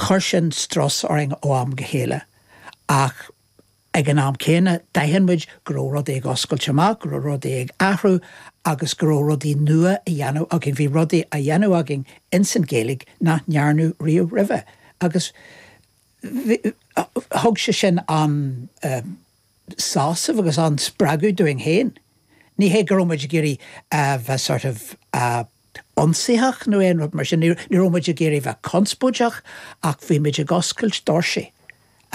Chuir sin strus orainn ó am go chéile ach ag an am céanna d'aithin muid go raibh rudaí ag oscailt amach, go raibh rudaí ag athrú agus go raibh rudaí nua á dhéanamh againn. Bhí rudaí á dhéanamh againn ins an Ghaeilge nach ndearnadh riamh roimhe agus thug sé sin an sásamh agus an spreagadh dúinn féin. Ní hé go raibh muid ag iarraidh a bheith sort of ionsaitheach nó aon rud mar sin, ní raibh muid ag iarraidh bheith conspóideach ach bhí muid ag oscailt doirsí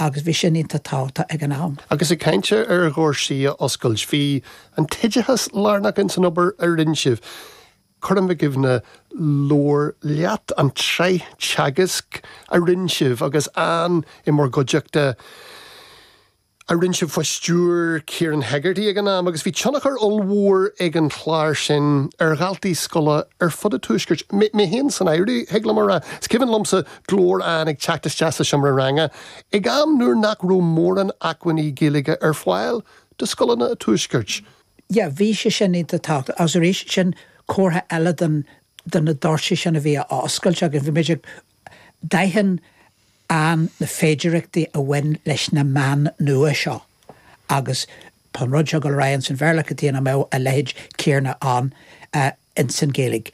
agus bhí sin iontach tábhachtach ag an am. Agus ag caint ar dhoirsí a oscailt, bhí an t-oideachas lárnach ins an obair a rinne sibh. Cuirim i gcuimhne Labhair Leat, an tsraith teagaisc a rinne sibh agus Ann i mbur gcuideachta, a rinne sibh faoi stiúir Kieran Hegarty ag an am, agus bhí tionchar ollmhór ag an chlár sin ar dhaltaí scoile ar fud an Tuaiscirt, mé féin san áireamh, thig liom a rá. Is cuimhin liomsa glór Ann ag teacht isteach sa seomra ranga ag am nuair nach raibh mórán acmhainní Gaeilge ar fáil do scoileanna an Tuaiscirt. Yeah, bhí sé sin iontach tábhachtach agus arís, sin comhartha eile den, de na doirse sin a bhí á oscailt againn. Bhí muid ag, d'aithin Ann na féidireachtaí a bhain leis na meáin nua seo agus tá an rud seo ag dul ar aghaidh ins an Bhéarla, cad chuige nach mbeadh a leithéid céarna ann ins an Ghaeilge.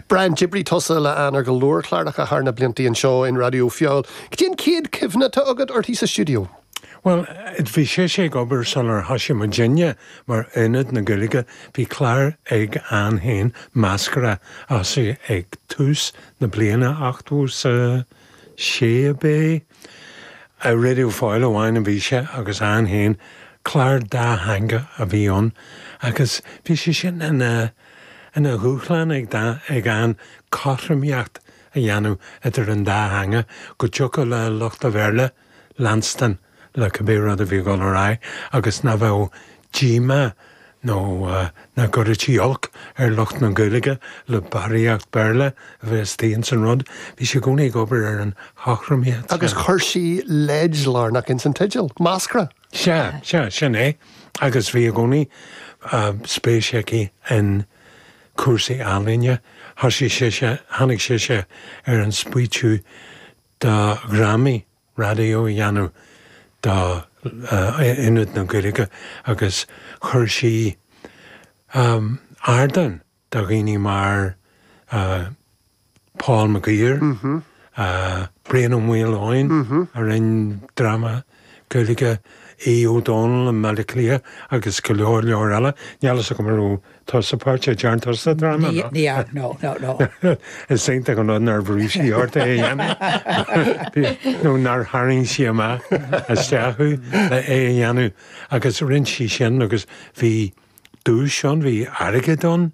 Brian, d'oibrigh tusa le Ann ar go leor cláracha thar na blianta anseo in Raidió Feabhail. Cad é an chéad chuimhne atá agat uirthi sa stiúideo? Bhuel, bhí sise ag obair sular thoisigh muidinne mar Ionad na Gaeilge. Bhí clár ag Ann féin, Meascra, a thosaigh ag tús na bliana 86 ab é? Ar Raidió Feabhail amháin a bhí sé agus Ann féin, clár dátheangach a bhí ann agus bhí sé sin ina ina dhúshlán ag ag Ann cothromaíocht a dhéanamh idir an dá theanga, go dtiocfadh le lucht an Bhéarla leanstan le cibé rud a bhí ag dul ar aghaidh agus nach bheadh díomá nó nach gcuirfí olc ar lucht na Gaeilge le barraíocht Béarla a bheith istigh ins an rud. Bhí sí i gcónaí ag obair ar an chothromaíocht sin. Agus chuir sí leid lárnach ins an teideal, Meascra. Sea, sea, sin é. Agus bhí i gcónaí spéis aici in cúrsaí ealaíne. Thosaigh sise, tháinig sise ar an smaoitiú do dhrámaí raidió a dhéanamh do Ionad na Gaeilge agus chuir sí ardán do dhaoine mar Paul McGuire, Brian Ó Maoileoin a rinne dráma Gaeilge, Aodh Ó Dónaill i mBaile Átha Cliath agus go leor leor eile. Níl fhios agam an raibh tusa páirteach, dearn tusa dráma? Ní dhearn, no, no, no. Is iontach an rud nár bhrúigh sí ort é a dhéanamh nó nár tharraing sí amach isteach thú le é a dhéanamh agus rinne sí sin agus bhí duais ann, bhí airgead ann.